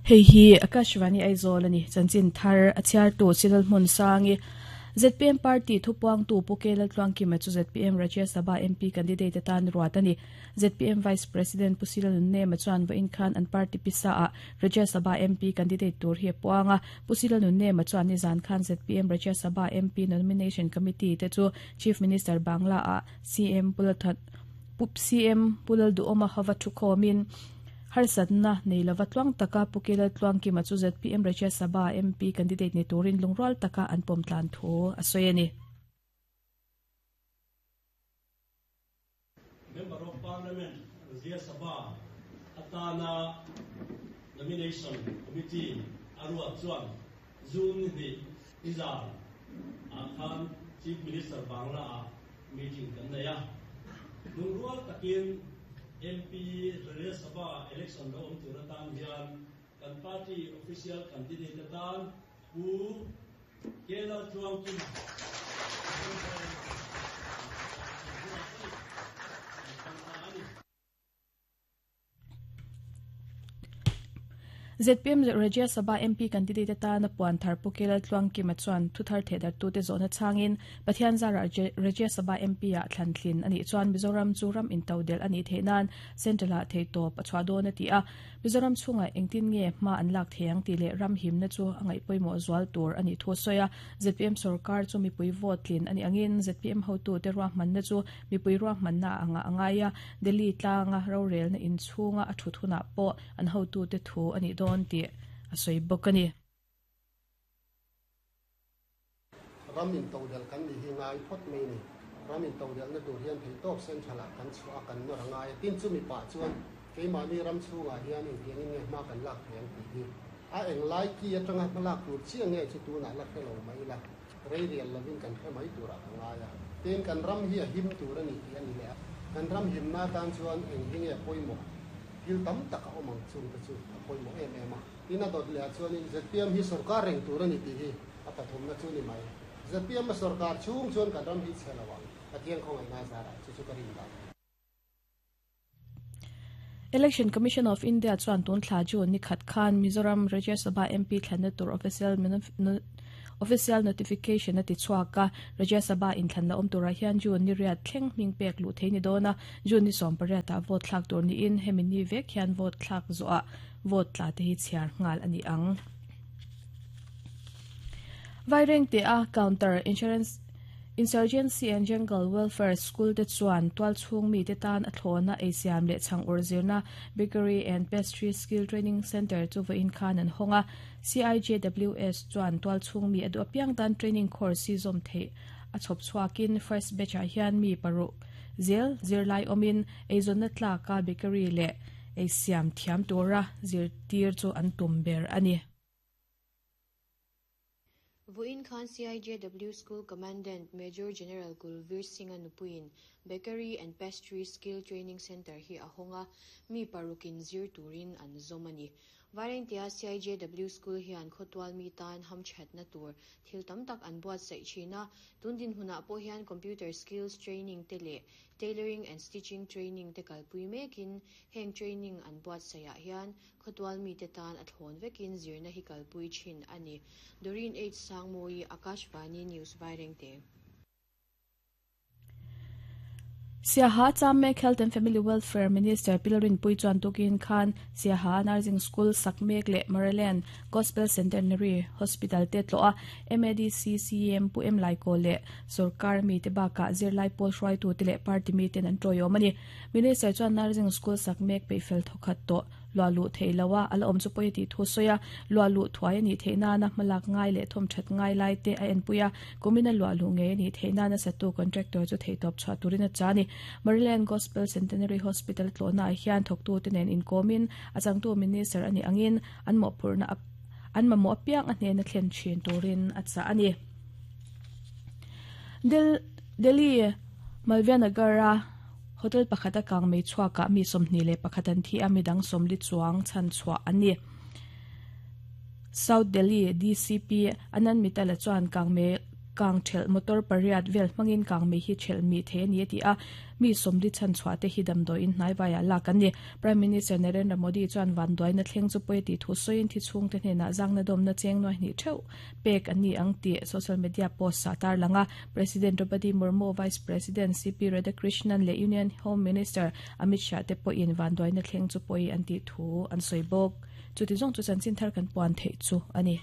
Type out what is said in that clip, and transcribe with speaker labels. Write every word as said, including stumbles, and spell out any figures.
Speaker 1: Hei hi Akashvani Aizawl ani chanchin thar a chhiar tu Chinal Hmun Sangi Z P M Party thupuang tu Pukela Tluangkima chu Z P M Rajya Sabha M P candidate atan ruat ani Z P M Vice President Pusila Nunne chuan va inkhan an party pisa a Rajya Sabha M P candidate tur hi puanga Pusila Nunne chuan ni zan khan Z P M Rajya Sabha M P nomination committee te chu Chief Minister Bangla a C M Pulathat Pup C M Pulal Duoma hawa thukomin harsatna neilava tluang taka Pukela Tluangkima chu Z P M Rajya Sabha M P candidate ni turin lungrual taka an pom tlan thu a sawi ani.
Speaker 2: Member of Parliament Rajya Sabha atana nomination committee arua chuan June ni izar a khan Chief Minister Bangla a meeting kan nei a lungrual takin M P Rajya Sabha election lo om tur atan hian kan party official candidate atan Pu Kela Tluangkima
Speaker 1: Z P M Rajya Sabha M P candidate atana puan thar Pukela Tluangkima chuan thuthar thedar tu te zona changin Pathian zara Rajya Sabha M P a thlantlin ani chuan Mizoram chu ram in todel ani thenan central a theitop a chwa don ati a Mizoram chunga engtin nge ma an lak theiang ti le ram him na chu angai poimo zwal tur ani thu soya Z P M sarkar chu mipui vote tlin ani angin Z P M hotu te ruah man na chu mipui ruah man na anga angaya Delhi tlanga rorel na in chunga a thuthuna po an hotu te thu ani don ti a soi bokani
Speaker 3: ramin todel kan ni hingai phot mei ni ramin todel na tur hian thei top central kan chua kan no rangai tin chu mi pa chuan keima ni ram chunga hian eng tiangin nge ma kan lak theiang ti hi a eng lai ki atanga malak tur chi nge chu tu na la khelo mai la rei rial lovin kan khe mai tura angai a tin kan ram hi a him tur ani ti ani le kan ram him na tan chuan eng hinge poimo thil tam tak a awm ang chung te chu a pawimawh em em a tin a dawt leh ah chuanin Z P M hi sarkar reng tur ani tih hi a pathum na chu ni mai Z P M a sarkar chhung chuan kan ram hi chhe lo ang Pathian khawngaih na zarah chu chu ka rin dan.
Speaker 1: Election Commission of India chuan tun thla June ni khat khan Mizoram Rajya Sabha M P thlanna tur official official notification ati chhuaka Rajya Sabha in thlanna awm turah hian June ni riat thleng hming pek lu thei ni dawna June ni sawm pariat ah vote thlak tur ni in hemi ni vek hian vote thlak zawh vote tla te hi chhiar nghal ani ang. Vaireng te a counter insurance Insurgency and Jungle Welfare School te chuan tual chhung mi te tan a thlawna eisiam leh chhang ur zirna Bakery and Pastry Skill Training Center chu va in khan an honga C I J W S chuan tual chhung mi adu apiang tan training course si zom thei a chhop chhuakin first batch ah hian mi paruk zel zirlai awmin eizawnna tlaka bakery leh eisiam thiam tura zirtir chu an tum ber ani.
Speaker 4: Voin Khan C I J W School Commandant Major General Kulveer Singh anupuin Bakery and Pastry Skill Training Center hi a honga mi parukin zir turin an zomani. Varentia C I J W School hian khotwal mi tan ham chat na tur thil tam tak an buat sai china tundin huna po hian computer skills training te le tailoring and stitching training te kalpui mekin heng training an buat saya hian khotwal mi te tan a thlon vekin zirna hi kalpui chin ani. Doreen H Sangmoi, Akashvani News, Vairengte.
Speaker 1: Siaha Chamek Health and Family Welfare Minister Pilarin Pui chuan tukin khan Siaha Nursing School Sakmek le Maryland Gospel Centenary Hospital te tloa M A D C C M Pu M Lai ko le sarkar mi te baka zirlai pol hruai tu te le party mi ten an troyo mani Minister chuan Nursing School Sakmek pe fel thokhat to lua lu theilawa ala awm chu pawh ti thu soya lua lu thuai ani theina na hmalak ngai le thom that ngai lai te a en puia kumina lua lu nge ani theina na satu contractor chu theitop chha turina chani Maryland Gospel Centenary Hospital tlona hian thoktu te nen in komin achangtu minister ani angin an mo phurna an ma mo piang a hne na thlen thin turin acha ani Del Delhi Malvianagara hotel pakhata kang mei chhuaka mi somni le pakhatan thi ami dang somli chuang chan chhuwa ani South Delhi D C P Anand Mitala chuan kang me Kang thel motor pariat vel hmangin kang mei hi thel mi the ani ti a mi somdi chan chhuate hi damdoi in hnai waya la kan ni. Prime Minister Narendra Modi chuan van doi na thleng chu poi ti thu soin thi chung te hne na zang na dom na cheng noi ni theu pek ani ang ti social media post sa tar langa. President Draupadi Murmu, Vice President C P Radhakrishnan le Union Home Minister Amit Shah te po in van doi na thleng chu poi an ti thu an soibok. Chu ti jong chu chan chin thar kan puan thei chu ani.